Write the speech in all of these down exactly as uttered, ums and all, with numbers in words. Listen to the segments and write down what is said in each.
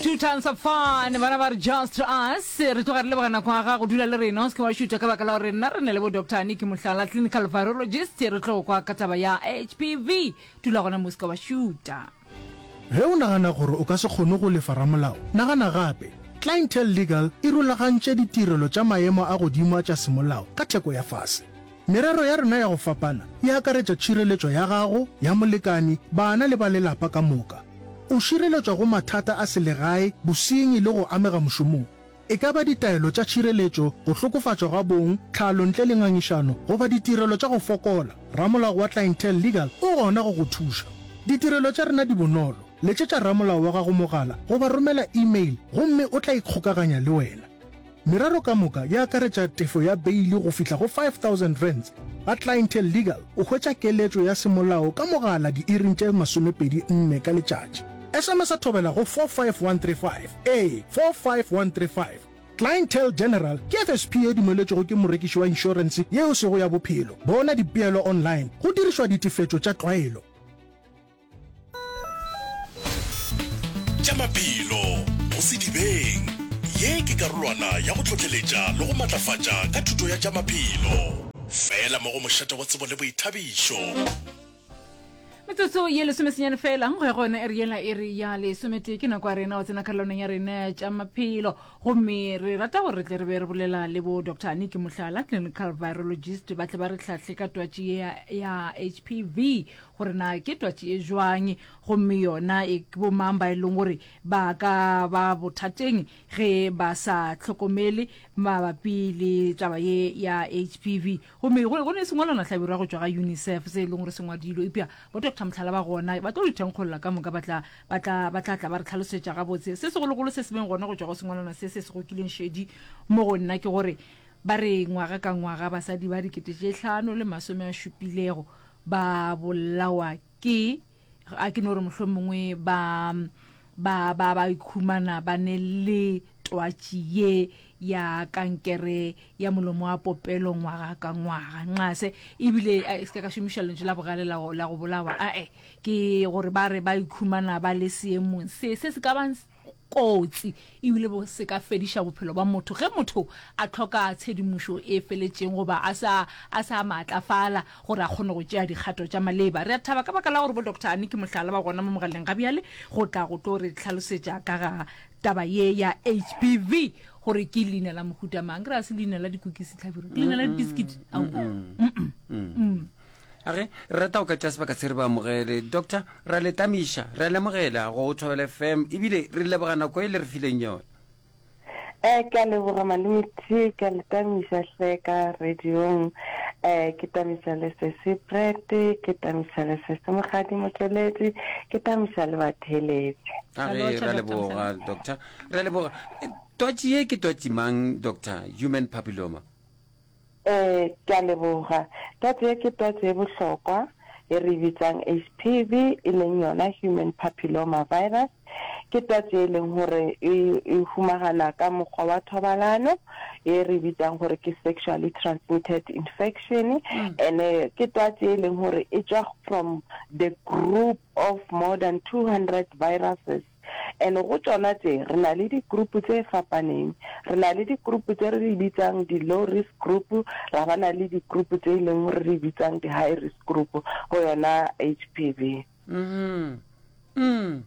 Two tons of fun bana ba re just us re tloga re leboga nako ya gago dula le rena o se ke wa šutha ka baka la gore nna re ne le bo doctor Aniki Mohlala clinical virologist re tlo kwa ka taba ya HPV dula gona mo o se ke wa šuta Ge o nagana gore o ka se kgone go lefa ramolao, nagana gape. Clientele Legal e rulagantše ditirelo tša maemo a godimo a tša semolao ka theko ya fase. Merero ya rena ya go fapana e akaretša tšhireletšo ya gago, ya molekani, bana le ba lelapa ka moka. O šireletšwa go mathata a selegae, bosenyi le go amega mošomong. E ka ba ditaelo tša tšhireletšo, go hlokofatšwa ga bong, tlhalo ntle le ngangišano, goba ditirelo tša go fokola, ramolao wa Clientele Legal o gona go go thuša. Ditirelo tša rena di bonolo, letšetša ramolao wa gago mogala goba romela email gomme o tla ikgokaganya le wena. Merero ka moka e akaretša tefo ya beili go fihla go five thousand rands. Ga Clientele Legal o hwetša keletšo ya semolao ka mogala diiring tše masomepedi nne ka letšatši. S M S Thobela go four five one three five, ee, four five one three five. Clientele General ke F S P ye dumeletšwego ke morekiši wa inšorense ye e sego ya bophelo. Bona dipeelo online go dirišwa ditefetšo tša tlwaelo. Tša maphelo go sedibeng. Ye ke karolwana ya go hlohleletša le go matlafatša ka thuto ya tša maphelo. Fela mo go mošate wa tsebo le boithabišo. Metsotso ye lesomesenyane fela go ya go yona iri yela iri ya lesometee ke nako ya rena go tsena karolwaneng ya rena ya tša maphelo gomme re rata gore re tle re be re bolela le bo Doctor Aniki Mohlala clinical virologist ba tle ba re hlahle ka twatši ye ya, ya H P V gore na ke twatši e jwang gomme yona e ke bomang ba e leng gore ba ka ba bothateng ge ba sa hlokomele mabapi le taba ye ya H P V. Gomme go go ne sengwalwana hlabirwa go tšwa ga UNICEF se e leng gore se ngwadilwe eupša bo Doctor Mohlala ba gona ba tlo di thenkgolola ka moka ba tla ba tla ba tla tla ba re tlhalosetša gabotse. Se segologolo se se beng gona go tšwa go sengwalwana se se se gokileng šedi mo go nna ke gore ba re ngwaga ka ngwaga basadi ba dikete tše hlano le masome a šupilego ba bolawa ke a ke no re mohlomongwe ba ba ba ba ikhumana ba ne le twatši ye ya kankere ya molomo wa popelo ngwaga ka ngwaga. Nxase ebile se ka ka šomiša lentšu la bogale la go la go bolawa ae ke gore ba re ba ikhumana ba le seemong se se se ka bang kotsi ebile bo se ka fediša bophelo ba motho ge motho a tlhoka tshedimošo e feletšeng goba a sa a sa maatlafala gore a kgone go tšea dikgato tša maleba. Re a thaba ka baka la gore bo Doctor Aniki Mohlala ba gona mo mogaleng ga bjale go tla go tlo re hlalosetša ka ga taba ye ya H P V gore ke leina la mohuta mang. Ke ra se leina la dikukisi tlhabiro ke leina la dibiskiti. Age re rata go ka tša sebaka se re ba amogele doctor ra le tamiša re a lemogela go Thobela F M ebile re leboga nako e le re fileng yona. Eh ke a leboga malome T, ke a le tamiša hle ka radiong. Eh ke tamiša le sesi Brett, ke tamiša le sesi Mokgadi Motšweletši, ke tamiša le batheeletši. Age ra leboga doctor ra leboga. Eh, twatši ye ke twatši mang doctor, human papilloma? Eh ke a leboga. Twatši ye ke twatši e bohlokwa e re bitsang H P V e leng yona human papilloma virus. Ke twatši e leng gore e e humagana ka mokgwa wa thobalano e re bitsang gore ke sexually transmitted infection and ke twatši e leng gore e tšwa from the group of more than two hundred viruses and go tšona tše re na le di-group tse fapaneng. Re na le di-group tse re di bitsang di-low risk group, ra ba na le di-group tse e leng gore re bitsang di-high risk group go yona H P V. mm mm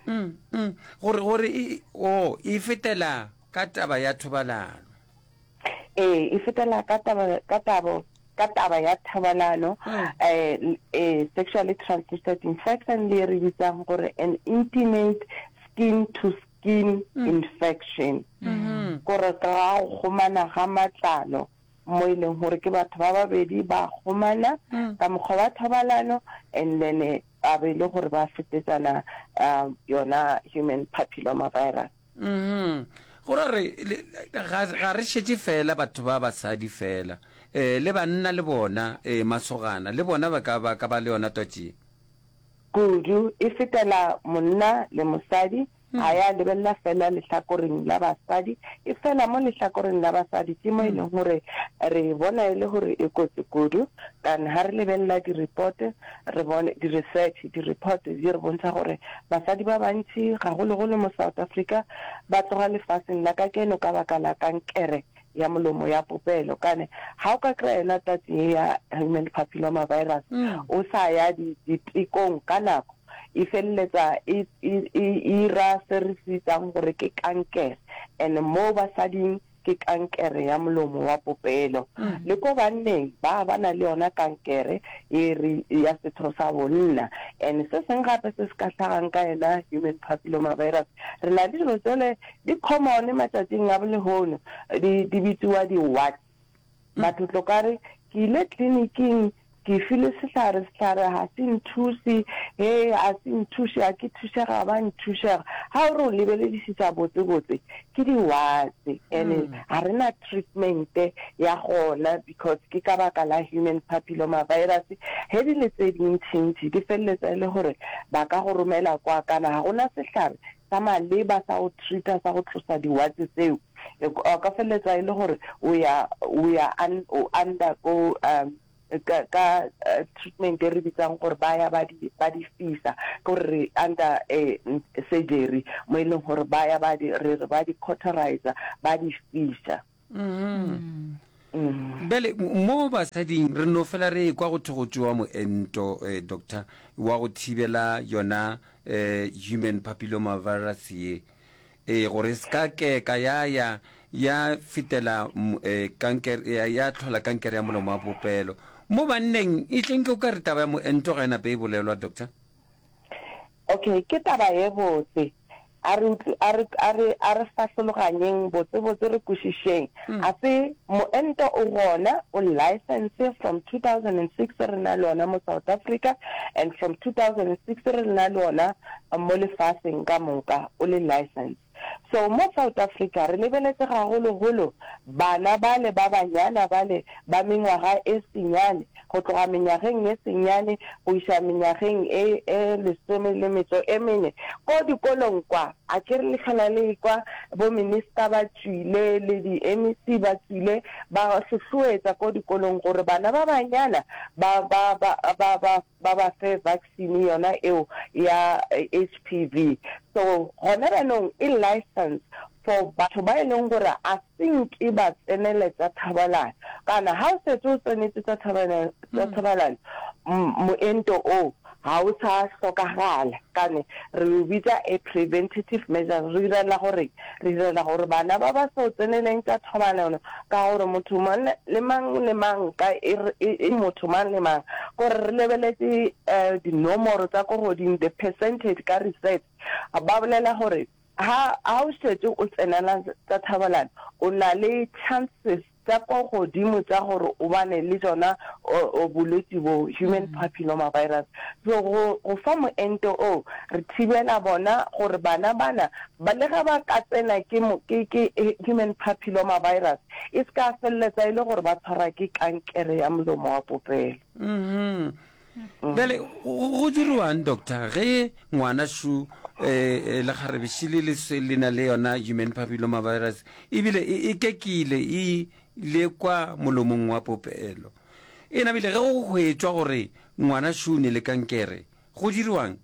mm mm gore gore e o e fetela ka taba ya thobalano? Ee, e fetela ka taba ka tabo ka taba ya thobalano, eh eh sexually transmitted infection le re bitsang gore an intimate skin to skin infection, gore ka go kgomana ga matlalo mo e leng gore ke batho ba babedi ba kgomana ka mokgwa wa thobalano and then ba be le gore ba fetetsana uh, yona human papilloma virus. Mhm gore re ga ga re šetše fela batho ba basadi fela eh le banna le bona eh masogana le bona ba ka ba ka ba le yona twatši? Kudu, e fetela monna le mosadi. Ga ya lebelela fela lehlakoreng la basadi, efela mo lehlakoreng la basadi ke mo e leng gore re bona e le gore e kotsi kudu. Kana ha re lebelela di-report, re bone di-research, di-report di re bontsha gore basadi ba bantši, gagologolo mo South Africa, ba tloga lefaseng la kakeno ka baka la kankere ya molomo ya popelo. Kane ga o ka kry-a yona twatši ye ya human papilloma virus o sa ya ditekong ka nako, e feleletsa e e e ira se re se bitsang gore ke kankere, and mo basading ke kankere ya molomo wa popelo. Le ko banneng ba ba na le yona kankere ye re ya setho sa bonna. And se seng gape se se ka hlagang ka yona human papilloma virus, re na le dilo tsele di common matšatšing a bolehono, di di bitsiwa di-warts. Batho tlo ka re ke ile tleliniking ke filwe sehlare, sehlare ga se nthuse, he ga se nthuše, ga ke thušega, ba nthušega. Ga o re o lebeledišiša botse-botse ke di-warts, and ga re na treatment ya gona because ke ka baka la human papilloma virus. Ge di le tse dintšintši di feleletsa e le gore ba ka go romela kwa, kana ga gona sehlare sa maleba sa go treat-a, sa go tlosa di-warts tseo. O ka feleletsa e le gore o ya o ya o under go um ka ka treatment e re bitsang gore ba ya ba di ba di fisa, ke gore re under surgery mo e leng gore ba ya ba di re re ba di cauterize, ba di fisa. Bjale mo basading re no fela re ekwa go thwe go tšewa moento, eh, doctor, wa go thibela yona eh, human papilloma virus ye, eh, gore e se ka keka ya ya ya fetela eh, kankere, ya, ya hlola kankere ya molomo wa popelo. Mo banneng e tleng ke o ka re taba ya moento ga e nape e bolelwa, doctor? Okay, ke taba ye botse. A re utlw, a re, a re, a re fahlologanyeng botse-botse re kwešišeng. A se, moento o gona, o licence from two thousand and six re na le ona mo South Africa and from two thousand and six re na le ona mo lefaseng ka moka, o le licence. So mo South Africa re lebeletse gagologolo bana bale ba banyana bale ba mengwaga e senyane, go tloga menyageng ye senyane go iša menyageng e e lesome le metšo e mene, ko dikolong kwa. A ke re le hlola le ekwa bo minister ba tšwile le di M E C ba tšwile ba hlohloetša ko dikolong gore bana ba banyana ba ba ba ba ba ba ba fe vaccine yona eo ya H P V. So gona bjanong e license for batho ba e leng gore a se nke ba tsenele tša thobalano. Kana ha o setse o tsenetse tša thobalano, moento o ga o sa hlokagala. Kane re o bitsa a preventative measure. Re direla gore re direla gore bana ba ba sa tseneleng tša thobalano, ka gore motho mang le mang le mang ka e, e motho mang le mang, gore re lebeletse uh, dinomoro tsa ko godimo, the percentage ka research ba bolela gore ha ha o šetše o tsenela tša thobalano, o na le chances tša ko godimo tša gore o bane le tšona bolwetši bo human papilloma virus. So go go fa moento o re thibela bona gore bana bana ba le ga ba ka tsena ke ke ke human papilloma virus, e se ka feleletsa e le gore ba tshwarwa ke kankere ya molomo wa popelo. Mm Bjale go diriwang, doctor, ge ngwana šu eh, lekgarebe šile le le na le yona human papilloma virus, ebile e kekile e le kwa molomong wa popelo, e nabile ge go hwetšwa gore ngwana šu ne le kankere, go diriwang?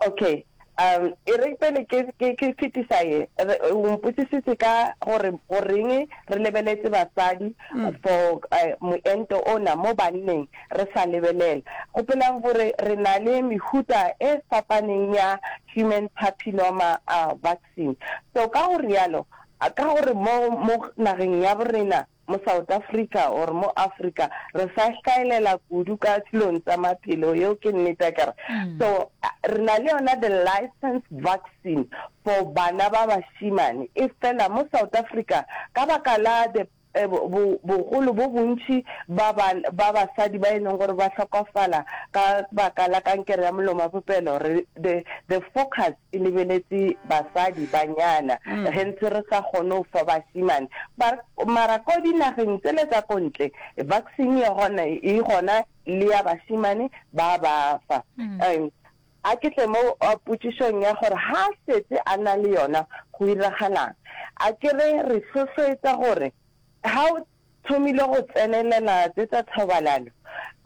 Okay, um e re pele ke ke ke fetisa ye, o mpotsisitse ka gore goreng re lebeletse basadi for moento ona, mo banneng re sa lebelela. Gopolang gore re na le mehuta e fapaneng ya human papilloma uh, vaccine. So ka go rialo, ka gore mo mo nageng ya borena mo South Africa or mo Africa re sa hlaelela kudu ka dilong tsa maphelo, yeo ke nnete akere. So re na le yona the license vaccine for bana ba bašimane, e fela mo South Africa ka baka la the bogolo bo bontši ba ba basadi ba e leng gore ba hlokofala ka baka la kankere ya molomo wa popelo, re the the focus e lebeletse basadi banyana, ge ntse re sa kgone go fa bašimane. Mara ko dinageng tsele tsa ko ntle vaccine e gona, e gona le ya bašimane ba ba fa. A ke tle mo potšišong ya gore ha a šetše a na le yona go iragalang. A ke re re hlohloetša gore ha o thomile go tsenelela tše tša thobalano,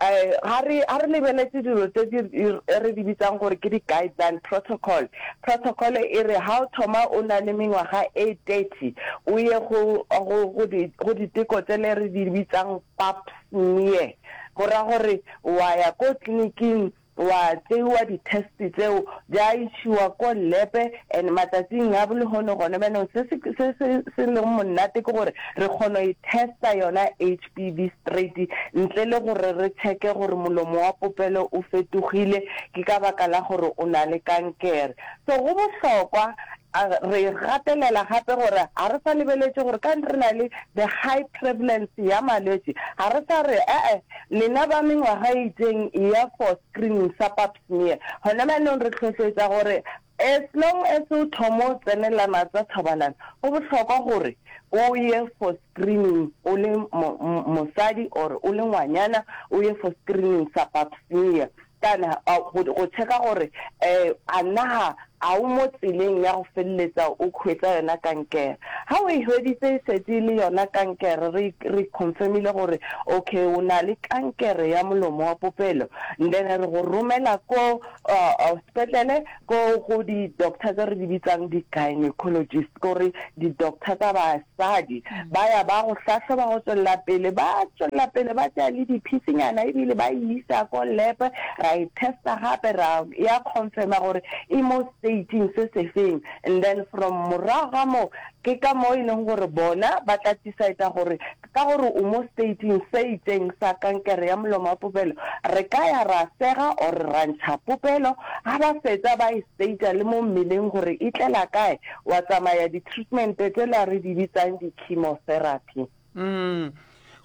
ga re, ga re lebeletše dilo tše di re di bitsang gore ke di-guideline protocol. Protocol e re ha o thoma o na le mengwaga e thirty o ye go, go, go di, go diteko tšele re di bitsang pap smear. Go ra gore wa ya ko tleliniking wa tšeiwa di-test tšeo, di a išiwa ko lab and matšatšing a lehono gona bjanong se se se se se leng monate ke gore re kgona go e testa yona H P V straight ntle le gore re checke gore molomo wa popelo o fetogile ke ka baka la gore o na le kankere. So go bohlokwa re gatelela gape gore ga re sa lebeletše gore ka re na le the high prevalence ya malwetši, ga re sa re e-e lena ba mengwaga e itšeng eya for screening sa pap smear. Gona bjanong re hlohletša gore as long as o thoma o tsenelana tsa thobalano, go bohlokwa gore o ye for screening o le mosadi or o le ngwanyana, o ye for screening sa pap smear. Kana go, go checka gore um a na a o mo tseleng ya go feleletsa o hwetsa yona kankere. Ha o e hweditse e šetše e le yona kankere, re, re confirmile gore okay o na le kankere ya molomo wa popelo, then re go romela ko sepetlele ko go di-doctor tse re di bitsang di-gynecologist, kore di-doctor tsa basadi. Ba ya ba go hlahloba go tšwelela pele, ba tšwelela pele ba tšea le diphisinyana ebile ba e isa ko lab, ra e testa gape ra ya confirma gore e mo stageng se sefeng, and then from morago ga moo ke ka mo e leng gore bona ba tla decide gore ka gore o mo stageng se itseng sa kankere ya molomo wa popelo, re ka ya ra sega or ra ntšha popelo. Ga ba fetsa ba e stagea le mo mmeleng gore e tlela kae, wa tsamaya di-treatment tsela re di bitsang di-chemotherapy. Mm.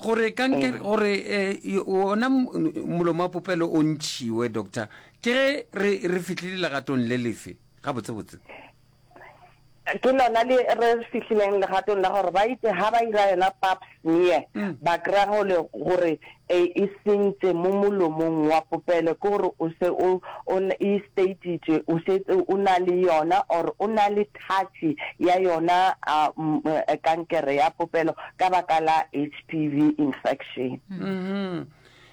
Gore kankere, gore eh, ona molomo wa popelo o ntšhiwe, doctor, ke ge re, re fihlile legatong le lefe gabotsebotse? Ke lona le re fihlileng legatong la gore ba itse ha ba ira yona pap smear, ba kry-a gole gore e e sentše mo molomong wa popelo, ke gore o se o, o e stateitše, o šetše o na le yona or o na le touch ya yona kankere ya popelo ka baka la H P V infection. Mm-hmm.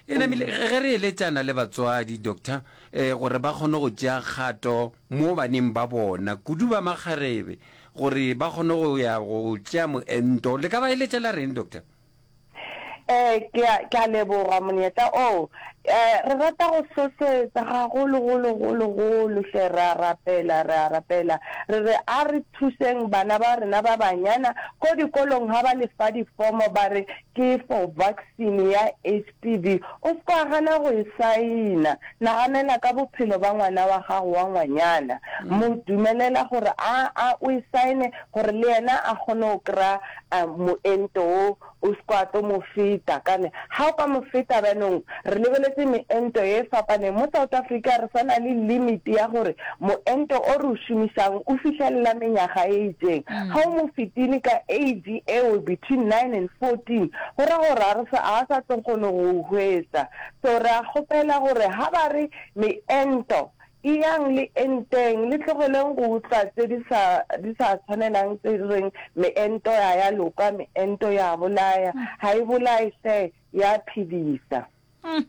E namile ge re eletšana le batswadi, doctor, eh, gore ba kgone go tšea kgato mo baneng ba bona, kudu ba makgarebe, gore ba kgone go ya go tšea moento. Le ka ba eletša la reng, doctor? Eh, ke a, ke a leboga monyetla oo. Eh, re rata go hlohletsa gagolo, golo, golo, golo hle, re a rapela, re a rapela. Re re a re thuseng bana ba rena ba banyana ko dikolong ha ba lefa difomo ba re ke for vaccine ya H P V. O se ka gana go e saena. Naganela ka bophelo ba ngwana wa gago wa ngwanyana. Mo dumelela gore a, a o e saene gore le yena a kgone go kry-a moento wo, o se ka tlo mo feta. Kane ha o ka mo feta bjanong, re lebeletse meento ye fapaneng. Mo South Africa re sa na le limit ya gore moento o re o šomišang o fihlelela menyaga e itšeng. Ha o mo fetile ka age eo between nine and fourteen, go ra gore a re sa, a sa tlo kgone go o hwetša. So re a kgopela gore ha ba re meento eyang le enteng, le tlogeleng go utlwa tse di sa, di sa tshwanelang tse di reng meento ya ya loka, meento ya bolaya. Ga e bolae hle, ya phedisa. Mm.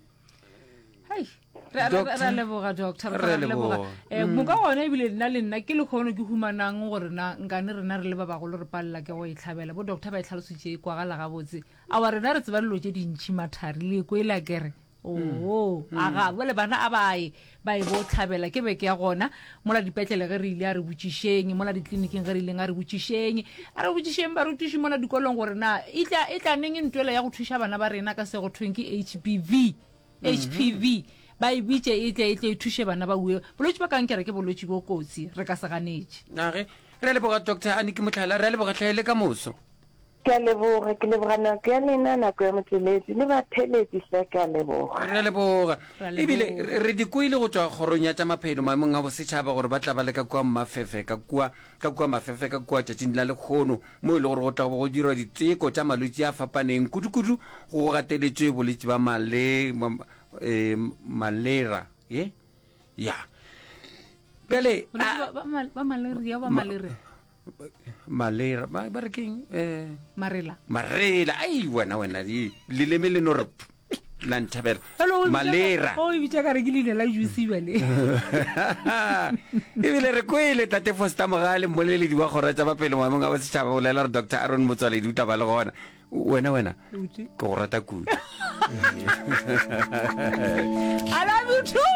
Hei, re a- re a- re a leboga, doctor, re a leboga. Eh, moka gona ebile nna le nna ke lekgono ke humanang gore na nkane rena re le ba bagolo re palela ke go e tlhabela. Bo doctor ba e tlhalositše e kwagala gabotse. Aowa, rena re tseba dilo tše dintši mathari, le kwela kere. Oo, a ga, bjale bana a ba ye, ba ye bo tlhabela, ke beke ya gona. Mola dipetlele ge re ile a re botšišeng, mola ditleliniking ge re ileng a re botšišeng, a re botšišeng barutiši mola dikolong gore na e tla, e tla neng ntwela ya go thuša bana ba rena ka se go thweng ke H B V, H P V, ba e bitše e tle, e tle e thuše bana ba ue. Bolwetši ba kankere ke bolwetši bo kotsi, re ka se ganetše. A ge, re a leboga Doctor Aniki Mohlala, re a leboga hle le ka moso. Ke a leboga, ke leboga nako ya lena, nako ya motšweletši le batheeletši hle, ke a leboga. Re a leboga. Re a Ebile leboga. re di kwele go tšwa kgorong ya tša maphelo maemong a bosetšhaba gore ba tla ba le ka kua Mafefe, ka kua, ka kua Mafefe ka kua tšatšing la lekgono, mo e le gore go tla bo go dirwa diteko tša malwetši a fapaneng, kudu-kudu go gateletšwe bolwetši ba male, ma, eh, malera, ye? Ya. Bjale Bolwetši ba- ba ba malaria ba malaria. Malera ba ba re keng eh Marela. Marela ai wena wena di leleme le no re la nthabela. Malera. O e bitša ka re ke leina la juice bjale. Ebile re kwele Tate Foster Mogale mmoleledi wa kgoro ya tša maphelo maemong a bosetšhaba o bolela gore Doctor Aaron Motsoaledi o tla ba le gona. Wena wena ke go rata kudu. I love you too.